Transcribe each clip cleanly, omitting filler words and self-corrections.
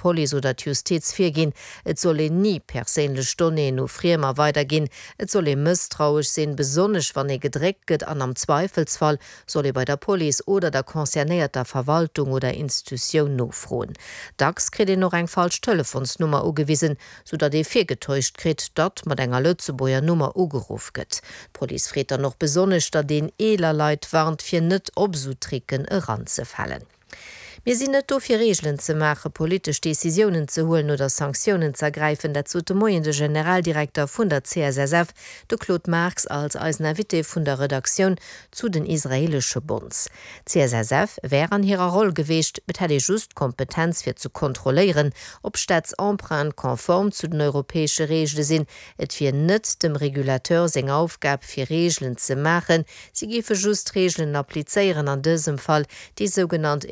d'Police oder d'Justiz virginn. Et soll een ni perséinlech Donnéeën u Friemer weiderginn. Et soll ee mësstrauesch sinn, besonnesch wann ee gedréckt gëtt an am Zweifelsfall soll ee bei der Police oder der concernéierter Verwaltung oder Institutioun nofroen. Dacks kritt een och eng falsch Telefonsnummer ugewisen, sou datt ee virgetäuscht kritt, datt mat enger Lëtzebuerger Nummer ugeruff gëtt. D'Police freet dann och besonnesch, datt een eeler Leit warnt, fir net op esou Tricken eranzefalen. Mir sinn net do fir Reegelen ze maachen, politesch Decisiounen ze huelen oder Sanktiounen z'ergräifen. Dat sot de Moien de Generaldirekter vun der CSSF, de Claude Marx, als eisen Invité vun der Redaktioun zu den israeelesche Bonds. D'CSSF wär an hirer Roll geweecht, et hätt ee just d'Kompetenz fir ze kontrolléieren, ob Staatsemprunte konform zu den europäesche Reegele sinn. Et wier net dem Regulateur seng Aufgab fir Reegelen ze maachen, si géife just Reegelen applizéieren, an dësem Fall déi sougenannt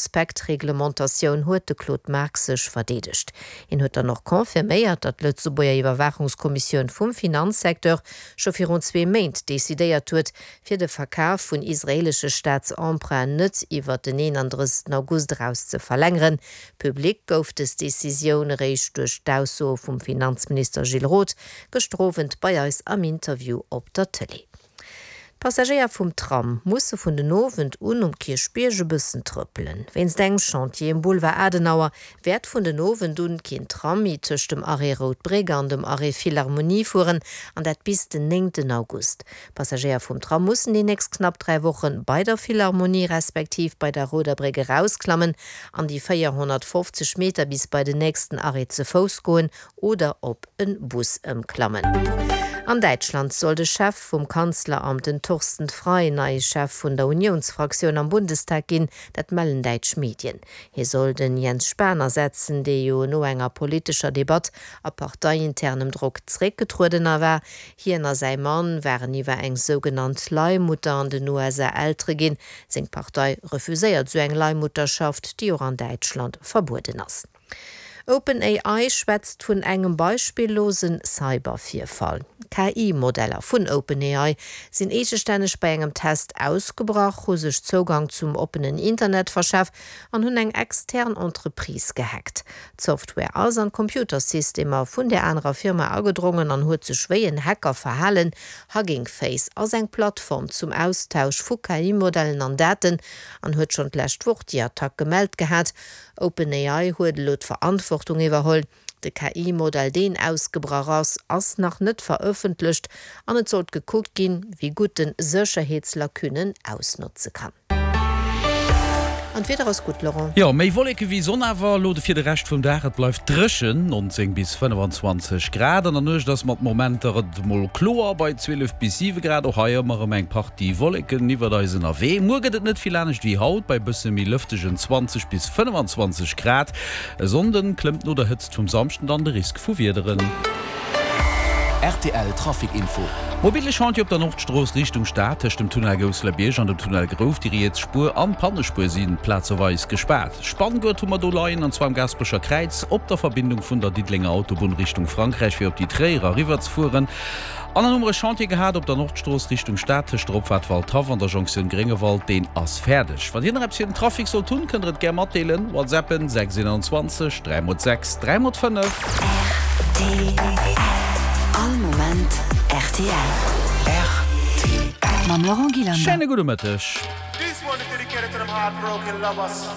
EU-Prospektreglementatioun, huet de Claude Marx sech verdeedegt. Hien huet dann och confirméiert, datt d'Lëtzebuerger Iwwerwaachungskommissioun vum Finanzsecteur scho virun zwee Méint decidéiert huet, fir de Verkaf vun israeelesche Staatsemprunten net iwwer den 31 August eraus ze verlängeren. Public gouf dës Decisioun eréischt duerch d'Aussoe vum Finanzminister Gilles Roth gëschter Owend bei eis am Interview op der Tëlee. D'Passagéier vum Tram musse vun den Owend un um Kierchbierg e bëssen trëppelen. Wéinst engem Chantier um Boulevard Adenauer wäert vun den Owend un keen Tram méi tëscht dem Arrêt Rout Bréck an dem Arrêt Philharmonie fueren, an dat bis den 9 August. D'Passagéier vum Tram mussen déi nächst knapp 3 Woche bei der Philharmonie respektiv bei der Rouder Bréck erausklammen an déi 450 Meter bis bei den nächsten Arrêt ze Fouss goen oder op e Bus ëmklammen. An Däitschland soll de Chef vum Kanzleramt, den Thorsten Frei, neie Chef vun der Uniounsfraktioun am Bundestag ginn. Dat mellen däitsch Medien. Hie soll den Jens Spahn ersetzen, dee jo no enger politescher Debatt a parteiinternem Drock zeréckgetrueden a war. Hien a säi Mann waren iwwer eng sougenannt Leihmutter an den USA Eltere ginn. Seng Partei refuséiert sou eng Leihmutterschaft, déi och an Däitschland verbueden ass. OpenAI schwätzt vun engem beispillose Cybervirfall. KI-Modeller vun OpenAI sinn eegestänneg bei engem Test ausgebrach, hu sech Zougang zum oppenen Internet verschaf an hunn eng extern Entreprise gehackt. D'Software ass an d'Computersystemer vun där anerer Firma agedrongen an huet sech wéi en Hacker verhalen. Hugging Face ass eng Plattform zum Austausch vu KI-Modellen an Daten an huet schonn d'lescht Woch déi Attack gemellt gehat. OpenAI huet elo d'Verantwortung iwwerholl. De KI-Modell, deen ausgebrach ass, ass nach net verëffentlecht an et sollt gekuckt ginn, wéi gutt en Sécherheetslacunen ausnotze kann. An d'Wieder ass gutt, Laurent. Jo, méi Wolleke wéi Sonn awer elo fir de Rescht vum Dag. Et bleift dréchen, 19 bis 25 Grad. An der Nuecht ass mat Momenter et mol kloer bei 12 bis 7 Grad. Och hei ëmmer erëm eng Partie Wolleken iwwert eis ënnerwee. Muer gëtt et net vill anescht wéi haut, bei bësse méi lëftegen 20 bis 25 Grad. E Sonnden klëmmt no der Hëtzt vum Samschden dann de Risk vu Wiederen. Rtl Trafic Info. Mobile Chantier op der Nordstrooss Richtung Stad tëscht dem Tunnel Gousselerbierg an dem Tunnel Grouf. Déi riets Spuer an d'Pannespuer si plazeweis gespaart. Spanngurt hu mer do leien an zwar am Gaasperecher Kräiz op der Verbindung vun der Diddelenger Autobunn Richtung Frankräich fir op déi Tréierer eriwwer ze fueren. An dann hu mer e Chantier gehat op der Nordstrooss Richtung Stad tëscht der Opfaart Waldhaff an der Jonktioun Gréngewald. Deen ass fäerdeg. Wann Dir nach eppes fir den Trafic sollt hunn, kënnt der et gär matdeelen. Whatsappen 6 21 3 mol 6 3 mol 5. Rtl All Moment rtl. Rtl. Mam Laurent Gillander. Schéine gudde Mëtteg. This one is dedicated to them heartbroken lovers.